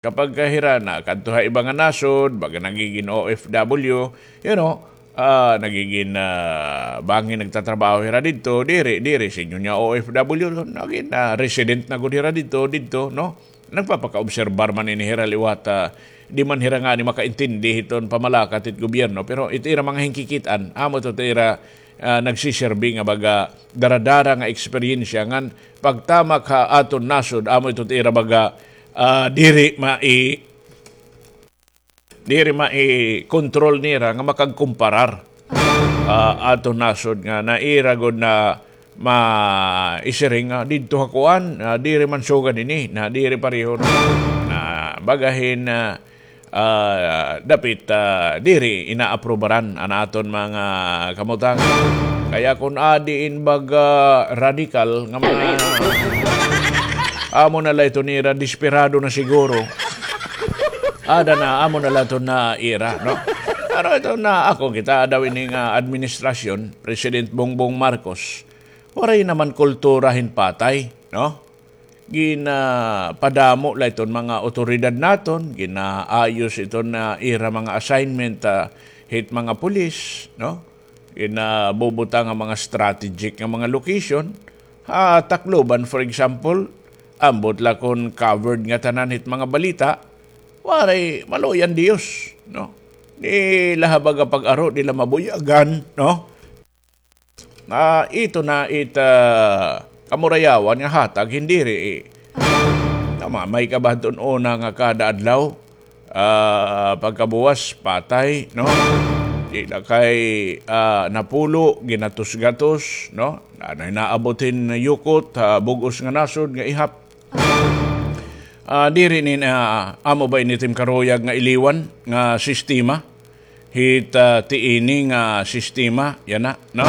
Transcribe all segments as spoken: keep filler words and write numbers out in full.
Kapag ka hira nakadto ha iba nga nasod, baga nagigin O F W, you know, ah, nagigin, ah, bangin nagtatrabaho hira didto, diri, diri sinyo niya O F W, nagin, ah, resident na gud hira didto, didto, no? Nagpapakaobserbar man ini hira liwat, ah, di man hira ngani makaintindi hiton pamalakat hit gobyerno, pero it ira mga hinkikit-an, amo ito it ira, ah, nagsiserbi nga baga daradara nga eksperyensya ngan pagtamak ha aton nasod, amo ito it ira baga, ah, diri mai-, diri maikontrol nira nga makagkumparar, ah, aton nasod nga naira gud na maisiring nga didto ha kuan, ah, diri man sugad ini, na diri pareho, no? Na bagahin, ah, ah, dapit, ah, diri inaaprubaran an aton mga kamutangan. Kaya kun adi in baga radikal nga mga amo na la ito nira, desperado na siguro. Ada na, amo na la ito na ira, no? Pero ito na ako, kita daw ini nga administrasyon, President Bongbong Marcos, waray naman kultura hin patay, no? Ginapadamo la iton mga awtoridad naton, ginaayos iton, ah, ira mga assignment, ah, hit mga pulis, no? Ginabubutang nga mga strategic nga mga location. Ha Tacloban, for example, ambot la kon covered ngatanan hit mga balita, waray, maluoy an Diyos, no? Di la ha baga pag-aro, di la mabuyagan, no? Ah, ito na it, ah, kamurayawan nga hatag, hin diri, eh. Tama, may kabahadton una nga kada adlaw, ah, pagkabuwas, patay, no? Di na kay, ah, napulo, ginatos-gatos, no? Nanay naabot hin yukot, ah, bug-os nga nasod nga ihap. Ah, diri ni na, amo ba ini tim karuyag nga iliwan nga sistema? Hit, ah, ti ini nga sistema, yana, no?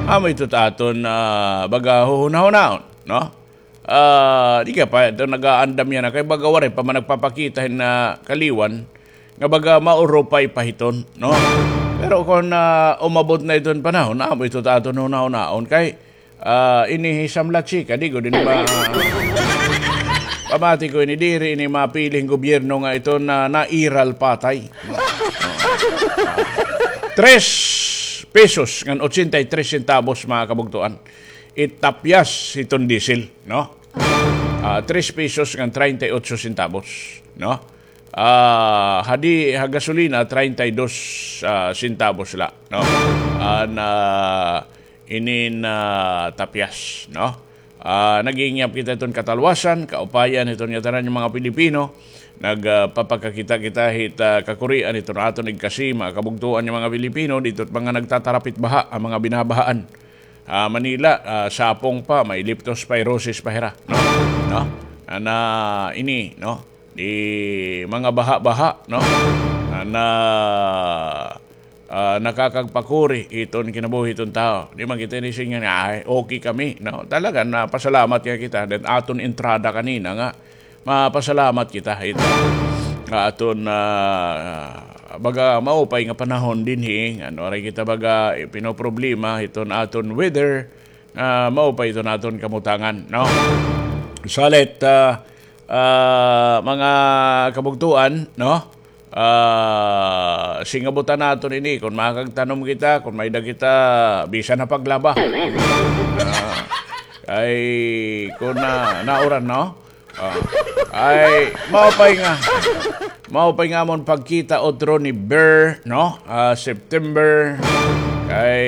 Amo ito ta aton, ah, baga huhunahunaon, no? Ah, di ka pa ito nag-aandam yana, kay baga waray pa man nagpapakita hin, ah, kaliwan, nga baga maurupay pa hiton, no? Pero kon, ah, umabot na iton panahon, amo ito ta aton hunahunaon, kay Ah, ini hi Sam La Chica, di ko din ma-, pamati ko ini, diri ini mapili hin gobyerno nga ito na nairal patay. Tres pesos ngan ochenta y tres centavos, mga kabugtuan. It tapyas hiton diesel, no? Ah, tres pesos ngan treinta y ocho centavos, no? Ah, hadi ha gasolina, treinta y dos, ah, centavos la, no? An, ah, inin, ah, tapyas, no? Ah, nag-iingyap kita iton katalwasan, kaupayan hiton ngatanan nga mga Pilipino. Nag, ah, papakakita kita hit, ah, kakurian hiton aton igkasi, mga kabugtuan nga mga Pilipino, didto it mga nagtatarapit baha, an mga binabahaan. Ah, Manila, ah, sapong pa, may leptospirosis pa hira, no? No? An, ah, ini, no? Di mga baha-baha, no? An, ah, ah, nakakagpakuri iton kinabuhi iton tawo. Di man kita ini siring nga, "Ay, okay kami," no? Talaga, napasalamat nga kita. Then aton entrada kanina nga, mapasalamat kita hit nga aton, ah, baga maupay nga panahon dinhi, ano, waray kita baga, eh, pinoproblema hiton aton weather, ah, maupay iton aton kamutangan, no? Salit, ah, ah, mga kabugtuan, no? Ah, singabutan naton ini, kon makakagtanom kita, kon may-ada kita, bisan ha paglaba. Ah, kay, kon na, nauran, no? Ah, ay, maupay nga. Maupay nga amon pagkita utro ni Ber, no? Ah, September. Kay,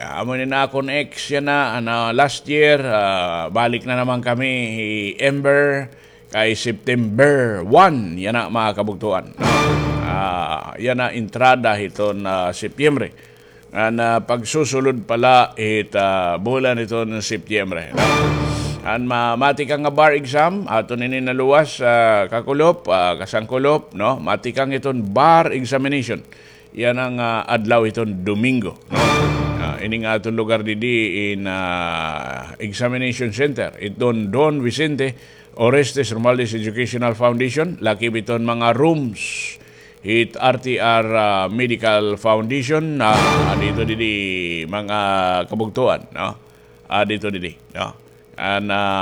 amo ni na akon ex yana, ano, last year, ah, balik na naman kami, hi Ember. Kay September one, yana, mga kabugtuan, no? Ah, yana entrada hiton, ah, Setyembre. An, ah, pagsusulod pa la hit, ah, bulan hiton Setyembre, no? An ma-, matikang nga bar exam, aton ini naluwas, ah, kakulop, ah, kasangkulop, no? Matikang hiton bar examination. Yana nga, ah, adlaw hiton Domingo, no? Ah, ini nga aton lugar didi in, ah, examination center, hiton Don Vicente Orestes Romualdez Educational Foundation, lakip hiton mga rooms hit R T R, ah, Medical Foundation, ah, didto didi mga kabugtuan, no? Ah, didto didi, no? An, ah,